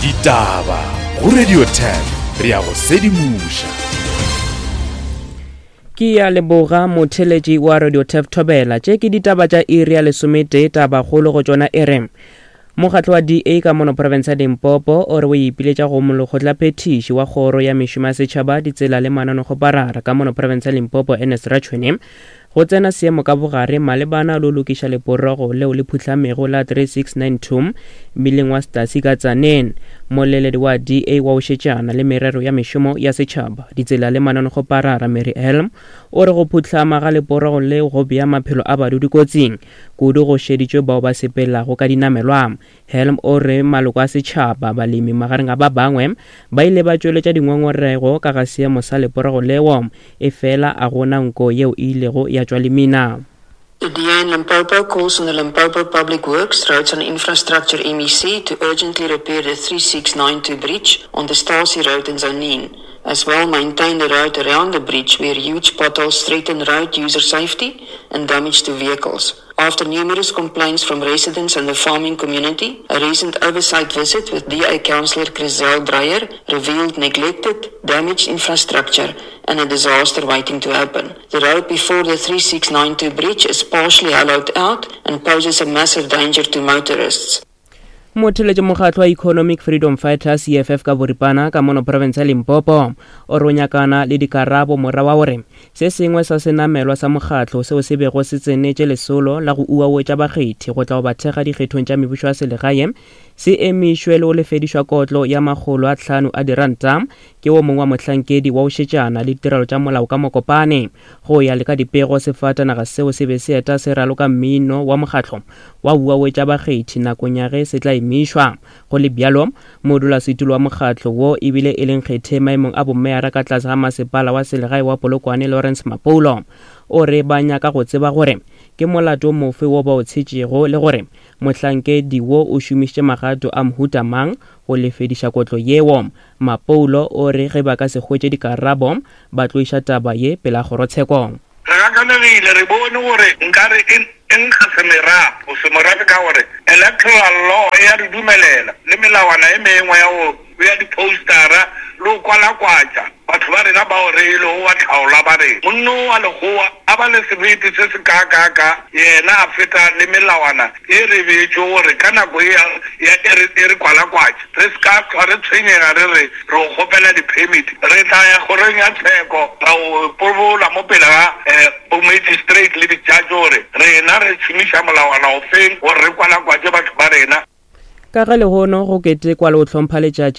Ditaba go Radio 10 re a go sedimoša. Ke ya leboga motheletši wa Radio Tef Thobela. Tše ke ditaba tša iri ya lesometee tabakgolo go tšona e re Mokgatlo wa DA ka mono profense ya Limpopo o re o ipiletša go molekgotlaphethiši wa kgoro ya mešomo ya setšhaba, ditsela le mananekgoparara ka mono profense ya Limpopo Ernest Ratshwene go tsena seemo ka bogare malebana le go lokiša leporogo leo le phuhlamego la 3692 mmileng wa Stasi ka Tzaneen. Moleledi wa DA wa go šetšana le merero ya mešomo ya setšhaba, ditsela le mananekgoparara Mary Helm o re go phuhlama ga leporogo leo go bea maphelo a badudi kotsing, kudu go šeditšwe bao ba sepelago ka dinamelwa. Helm o re maloko a setšhaba, balemi magareng a ba bangwe, ba ile ba tšweletša dingongorego ka ga seemo sa leporogo leo, efela a go na nko yeo e ilego ya tšwa lemina. The DA in Limpopo calls on the Limpopo Public Works, Roads and Infrastructure MEC to urgently repair the 3692 bridge on the Stasi Road in Tzaneen, as well maintain the road around the bridge where huge potholes threaten road user safety and damage to vehicles. After numerous complaints from residents and the farming community, a recent oversight visit with DA councillor Chriselle Dreyer revealed neglected, damaged infrastructure and a disaster waiting to happen. The road before the 3692 bridge is partially hollowed out and poses a massive danger to motorists. Motheletše mokgatlo wa Economic Freedom Fighters, EFF ka boripana, ka mono profense ya Limpopo o re o nyakana le dikarabo mora wa gore se sengwe sa senamelwa sa mokgatlo seo se bego se tsenetše lesolo la go uawetša bakgethi go tla go ba thekga dikgethong tša mebušo ya selegae se emišwe le go lefedišwa kotlo ya 500 a diranta ke wo mongwe wa mohlankedi wa go šetšana le ditirelo tša molao ka Mokopane. Go ya le ka dipego, sefatanaga seo se be se eta se raloka mmino wa mokgatlo wa uawetša bakgethi nakong ya ge se tla emišwa. Go le bjalo, modulasetulo wa mokgatlo wo e bile e le nkgethe maemong a bomeyara ka tlase ga masepala wa selegae wa Polokwane Lawrence Mapoulo o re ba nyaka go tseba gore ke molato mofe wo ba o tshetšego le gore mohlankedi wo o šomišitše magato a mohuta mang go lefediša kotlo yeo. Mapoulo o re ge ba ka se hwetše dikarabo ba tlo iša taba ye pela kgorotsheko. Re gakanegile, re bone gore nkare e e nkga semerafo, semorafe ka gore electoral law e a re dumelela le melawana e mengwe ya go bea di-postera le go kwalakwatša batho ba rena bao re e lego batlhaolwa ba rena. Monno wa Lekgowa a ba le sebete se se kaakaaka, yena a feta le melawana e re beetšwe gore ka nako ye ya e re, e re kwalakwatša, re se ka hlwa re tshwenyega re re re go kgopela di-permit. Re tla ya kgorong ya tsheko ra go pobola mo pele ga bo-magistrate le di-judge gore rena re šomiša molawana ofeng gore re kwalakwatše batho ba rena. Ka ge lehono go ketekwa le go hlompha letšatši.